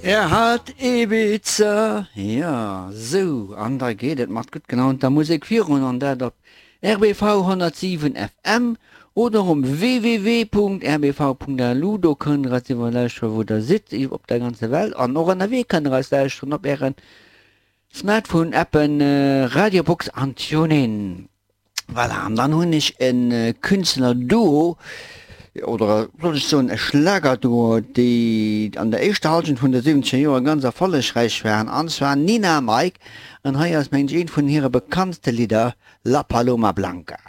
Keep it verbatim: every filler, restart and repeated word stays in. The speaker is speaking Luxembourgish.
Er hat Ibiza, jo, sou, an da geet et mat gutt gelaunter Musek virun, an dat op R B V honnertsiwen F M oder um W W W Punkt R B V Punkt L U. Do kënnt der eis iwwerall lauschteren, wou der sidd, op der ganzer Welt, an och ënnerwee kënnt der eis lauschteren op ären Smartphone-Appen Radiobox an TuneIn. Voilà, an dann hunn ech e Künstler-Duo, oder soll ech soen e Schlagerduo, déi an der éischter Halschent vun de siwwenzeger Joer ganz erfollegräich waren, an zwar Nina a Mike, an hei ass mengen ech eent vun hire bekanntste Lidder, La Paloma Blanca.